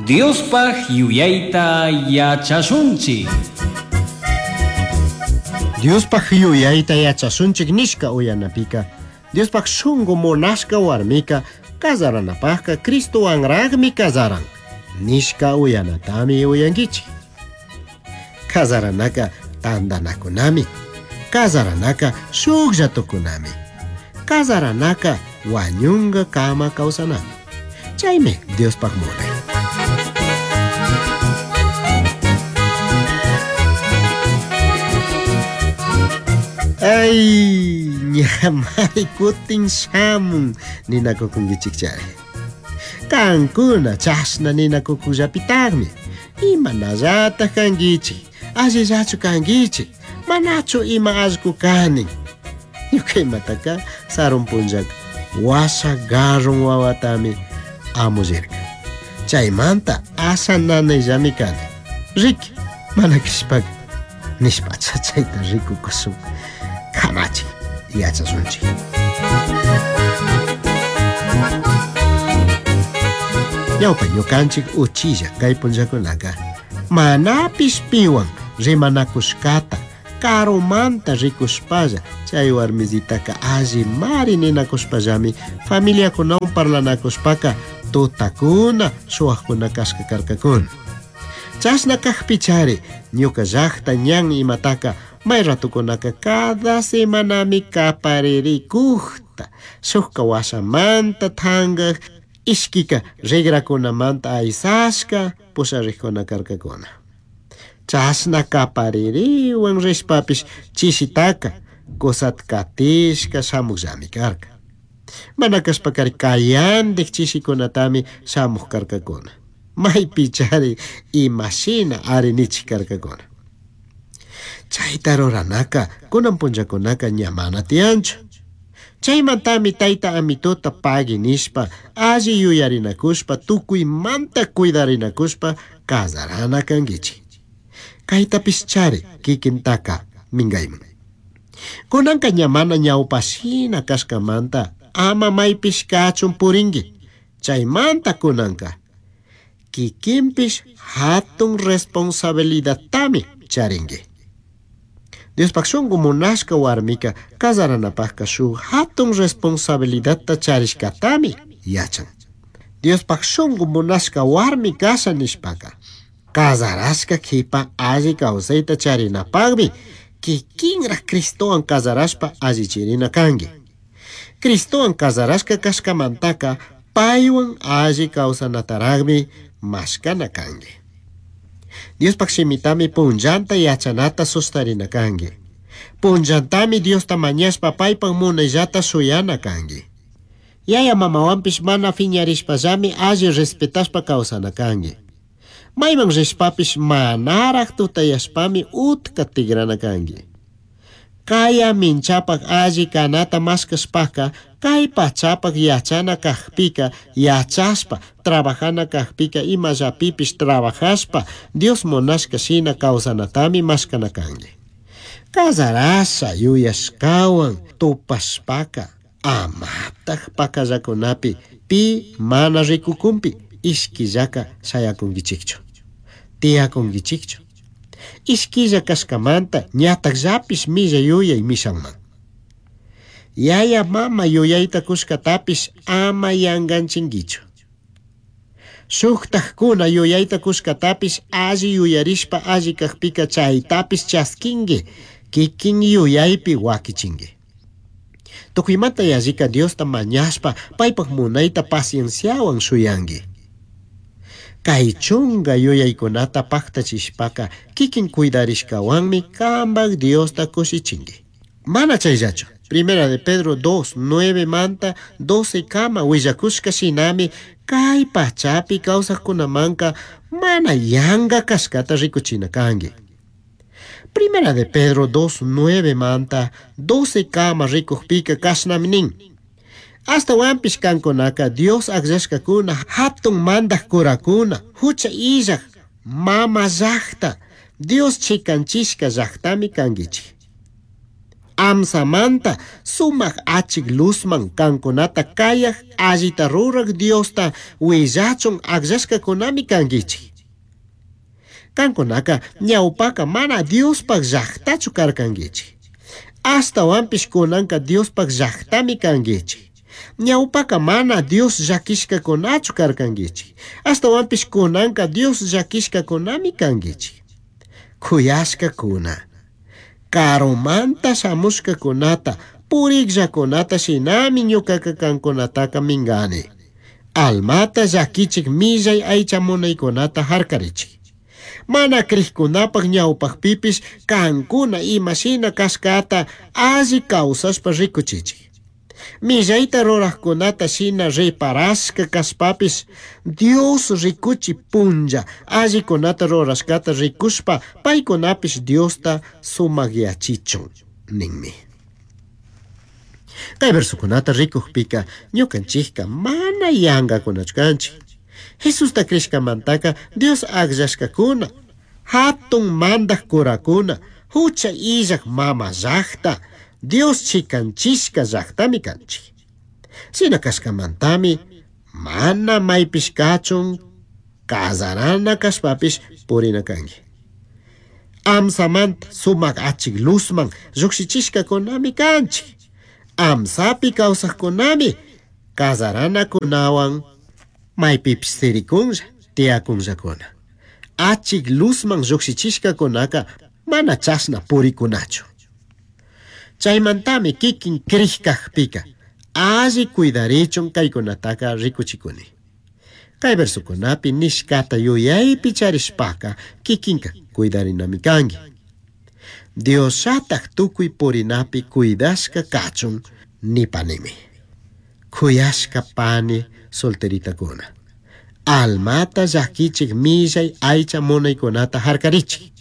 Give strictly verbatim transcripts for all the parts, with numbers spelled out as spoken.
Diospaj yuyayta yachashunchik. Diospaj yuyayta yachashunchik nishka uyanapika Diospaj shungu munashka warmika kazaranapajka Cristowanraqmi kazaran nishka uyanatami uyankichik. Kazaranaka tantanakunami, kazaranaka shuklla tukunami, kazaranaka wañunga kama kawsanami. Chaymi Diospaj munay. Ay, ñamari kutin shamun ninakukunkichik chari. Kankuna chashna ninakukullapitaqmi. Imanallataq kankichik, allillachu kankichik, manachu ima allqu kanin. Ñuka imataka sarun punllaka washa garrun wawatami amullirka. Chaymanta asha nanayllami kani. Riki, mana krishpaka nishpacha chayta rikukushun. Kamachi yachasunchik. Ñawpa ñukanchik uchilla kay punllakunaka manapish piwan rimanakushkata karumanta rikushpalla chay warmisitaka allimari ninakushpallami familiakunawan parlanakushpaka tutakuna shuwakuna kashka karkakuna. Chashna kajpichari ñuka llaqta ñan imataka may ratukunaka cada semanami kaparirikujta shukka washamanta thankaq ishkika rigrakunamanta aysashka pusharikuna karkakuna. Chashna kapaririwan rishpapish chishitaka kusat katishka shamuqllami karka. Mana kashpakari kayandik chishikunatami shamuq karkakuna. Maypichari imashina ari nichik karkakuna. Chayta ruranaka kunan punllakunaka ña mana tiyanchu. Chaymantami tayta amituta pagui nishpa alli yuyarinakushpa tukuymanta cuidarinakushpa kazarana kankichik. Kaytapish chari kikintaka minkayman. Kunanka ña mana ñawpashina kashkamanta ama maypish kachun purinki. Chaymanta kunanka kikinpish hatun responsabilidadtami charinki. Diospaj shungu munashka warmika kazaranapajka shuk hatun responsabilidadta charishkatami yachan. Diospaj shungu munashka warmi kasha nishpaka kazarashka kipa alli kawsayta charinapaqmi kikinraq Cristowan kazarashpa allichirina kanki. Cristowan kazarashka kashkamantaka paywan alli kawsanataraqmi mashkana kanki. Diospaj shimitami punllanta yachanata sustarina kanki. Punllantami Diosta mañashpa paypaj munayllata shuyana kanki. Yaya mamawanpish mana phiñarishpallami alli respetashpa kawsana kanki. Mayman rishpapish manaraq tutayashpami utka tigrana kanki. Kaya minchapaj alli kanata mashkashpaka kay pachapaj yachana kajpika yachashpa trabajana kajpika imallapipish trabajashpa Dios munashka shina kawsanatami mashkana kanki. Kazarasha yuyashkawan tupashpaka amataq pakallakunapi pi mana rikukunpi ishkillaka shayakunkichikchu. Tiyakunkichikchu. Ishkilla kashkamanta ñatakllapish milla yuyay mishanman. Yaya mama yuyayta kushkatapish ama yankanchinkichu. Shuktajkuna yuyayta kushkatapish alli yuyarishpa alli kajpika chaytapish chaskinki, kikin yuyaypi wakichinki. Tukuymanta yallika Diosta mañashpa paypaj munayta pacienciawan shuyanki. Kay chunga yuyaykunata paktachishpaka kikin cuidarishkawanmi kambak Diosta kushichinki. Mana chayllachu. Primera de Pedro dos, nueve manta doce kama willakushka shinami kay pachapi kawsaqkunamanka mana yanka kashkata rikuchina kanki. Primera de Pedro dos, nueve manta doce kama rikujpika kashnami nin. Ashtawanpish kankunaka Dios akllashkakuna hatun mandaj kurakuna hucha illaj mama llaqta Dios chikanchishka llaqtami kankichik. Amsamanta sumaq achik luzman kankunata kayaq allita ruraq Diosta willachun akllashkakunami kankichik. Kankunaka ñawpaka mana Diospaq llaqtachu karkankichik. Ashtawanpish kunanka Diospaq llaqtami kankichik. Ñawpaka mana Dios llakishkakunachu karkankichik. Ashtawanpish kunanka Dios llakishkakunami kankichik. Kuyashkakuna, karumanta shamushkakunata, purikllakunata shinami ñukaka kankunataka minkani. Almata llakichik millay aycha munaykunata harkarichik. Mana krikkunapaq ñawpaqpipish kankuna imashina kashkata alli kawsashpa rikuchichik. Millayta ruraqkunata shina reparashka kashpapish Dios rikuchi punlla allikunata rurashkata rikushpa paykunapish Diosta sumakyachichun ninmi. Kay versokunata rikukpika ñukanchikka mana yankakunachu kanchik. Jesusta krishkamantaka Dios akllashkakuna, hatun mandaq kurakuna, hucha illaq mama llaqta, Dios chikanchishka llaqtami kanchik. Shina kashkamantami mana maypish kachun kazarana kashpapish purina kanki. Amsamanta sumak achik luzman llukshichishkakunami kanchik. Amsapi kawsaqkunami kazaranakunawan maypipish sirikunlla tiyakunllakuna. Achik luzman llukshichishkakunaka mana chashna purikunachu. Chaymantami kikin krikakpika alli cuidarichun kaykunataka rikuchikuni. Kay versokunapi nishkata yuyaypi charishpaka kikinka cuidarinami kanki. Diosllatak tukuy purinapi cuidashka kachun nipanimi. Kuyashka pani solteritakuna. Almata llakichik millay aycha munaykunata harkarichik.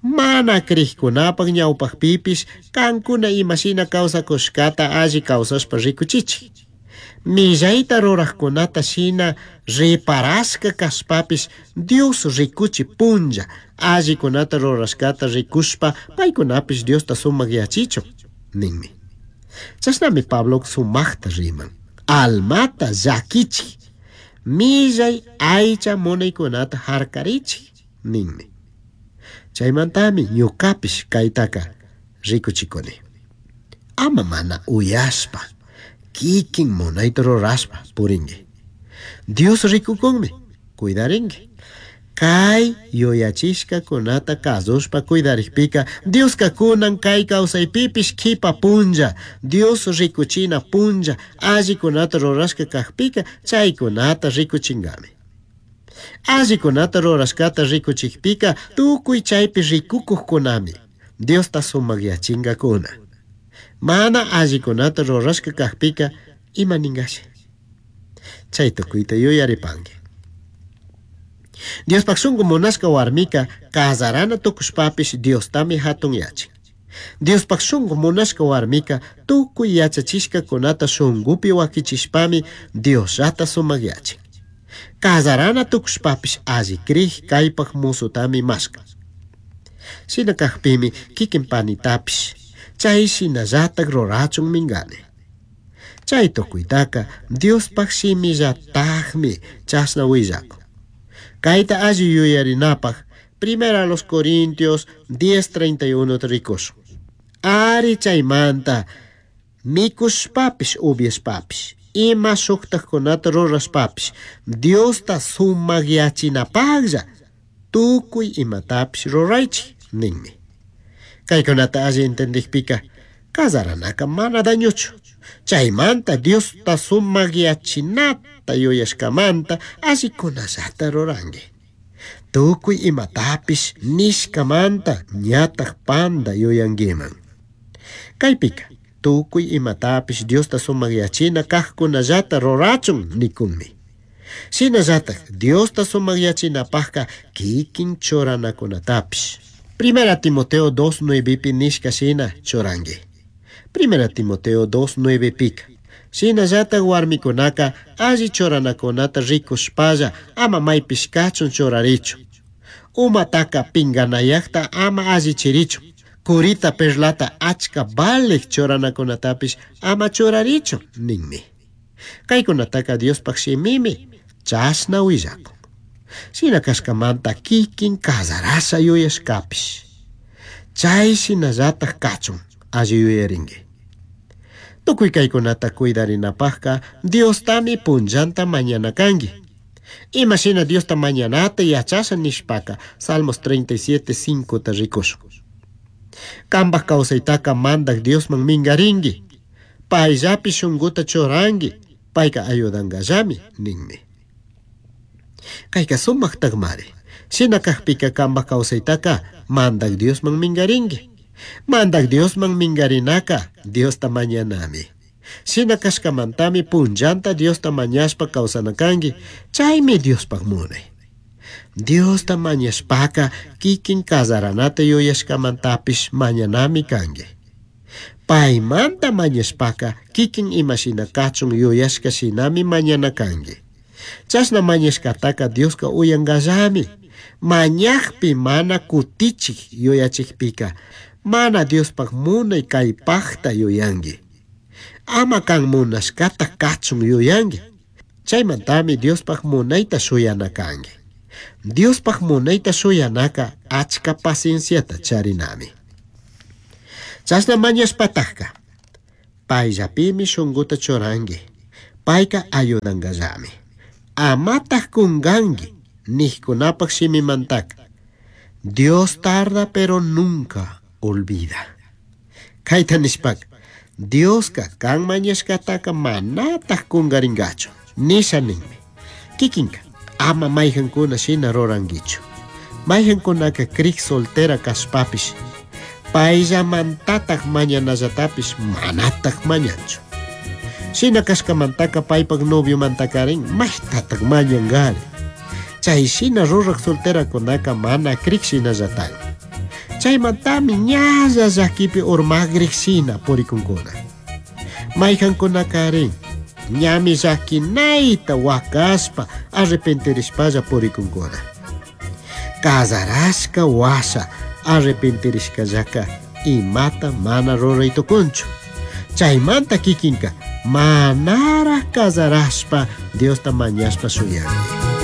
Mana krikkunapaq ñawpaqpipish kankuna imashina kawsakushkata alli kawsashpa rikuchichik. Millayta ruraqkunata shina reparashka kashpapish Dios rikuchi punlla allikunata rurashkata rikushpa paykunapish Diosta sumak yachichun ninmi. Chashnami Pablo sumaqta riman. Almata llakichik, millay aycha munaykunata harkarichik ninmi. Chaymantami ñukapish kaytaka rikuchikuni. Ama mana uyashpa, kikin munayta rurashpa purinki. Dios rikukunmi, cuidarinki. Kay yuyachishkakunata kasushpa cuidarikpika Dioska kunan kay kawsaypipish kipa punlla, Dios rikuchina punlla, allikunata rurashka kakpika chaykunata rikuchinkami. Allikunata rurashkata rikuchikpika tukuy chaypi rikukuqkunami Diosta sumakyachinkakuna. Mana allikunata rurashka kakpika ima ninkashi. Chay tukuyta yuyaripanki. Diospaq shunku munashka warmika kazarana tukushpapish Diostami hatun yachin. Diospaq shunku munashka warmika tukuy yachachishkakunata shunkupi wakichishpami Diosllata sumakyachin. Kazarana tukushpapish alli krik kaypaq musutami mashkan. Shina kakpimi kikin panitapish chay shinallatak rurachun minkani. Chay tukuytaka Diospaq shimillatakmi chashna willakun. Kayta alli yuyarinapaq Primera a los Corintios diez treinta y uno rikushun. Ari chaymanta mikushpapish upiashpapish ima shuktajkunata rurashpapish Diosta sumakyachinapaqlla tukuy imatapish ruraychik ninmi. Kaykunata alli entendikpika kazaranaka mana dañuchu. Chaymanta Diosta sumakyachinata yuyashkamanta allikunallata ruranki. Tukuy imatapish nishkamanta ñatak panda yuyankiman. Kaypika tukuy imatapish Diosta sumakyachina kaqkunallata rurachun nikunmi. Shinallatak Diosta sumakyachinapaqka kikin churanakunatapish. Primera Timoteo dos nuevepi nishka shina churanki. Primera Timoteo dos nueve pika. Shinallatak warmikunaka alli churanakunata rikushpalla ama maypish kachun churarichun. Umataka pinganayaqta ama allichirichun. Curita perlata achka valej churanakunatapish ama churarichu ninmi. Kaykunataka Diospaj shimimi chashna willakun. Shina kashkamanta kikin casarasha yuyashkapish. Chay shinallataj kachun alli yuyarinki. Tukuy kaykunata cuidarinapajka Diostami punllanta mañana kanki. Ima shina Diosta mañanata yachasha nishpaka Salmos treinta y siete, cinco ta rikushun. Kambaj kawsaytaka mandak Diosman mingarinki. Payllapi shunkuta churanki. Payka ayudankallami ninmi. Kayka sumaqtaqmari. Shina kajpika kambaj kawsaytaka mandak Diosman mingarinki. Mandak Diosman mingarinaka Diosta mañanami. Shina kashkamantami punllanta Diosta mañashpa kawsana kanki. Chaymi Diospaj munay. Diosta mañashpaka kikin kasaranata yuyashkamantapish mañanami kanki. Paymanta mañashpaka kikin imashina kachun yuyashka shinami mañana kanki. Chashna mañashkataka Dioska uyankallami. Mañajpi mana kutichik yuyachikpika mana Diospaj munay kaypajta yuyanki. Ama kan munashkata kachun yuyanki. Chaymantami Diospaj munayta shuyana kanki. Diospaj munayta shuyanaka achka pacienciata charinami. Chashna mañashpatajka payllapimi shunkuta churanki. Payka ayudankallami. Amataj kunkanki nijkunapaj shimimantaka. Dios tarda pero nunca olvida. Kayta nishpaka Dioska kan mañashkataka manataj kunkarinkachu. Nisha ninmi. Kikinka ama mayhankuna shina rurankichu. Mayhankunaka krik soltera kashpapish payllamantataj mañanallatapish manataj mañanchu. Shina kashkamantaka paypak noviomantakarin maytataj mañankari. Chay shina ruraj solterakunaka mana krik shinallataj. Chaymantami ñalla llakipi urmagrik shina purikunkuna. Mayhankunakarin ñami llakinayta wakashpa arrepentirishpalla purikunkuna. Casarashka washa arrepentirishkallaka imata mana ruray tukunchu. Chaymanta kikinka manaraj casarashpa Diosta mañashpa shuyanki.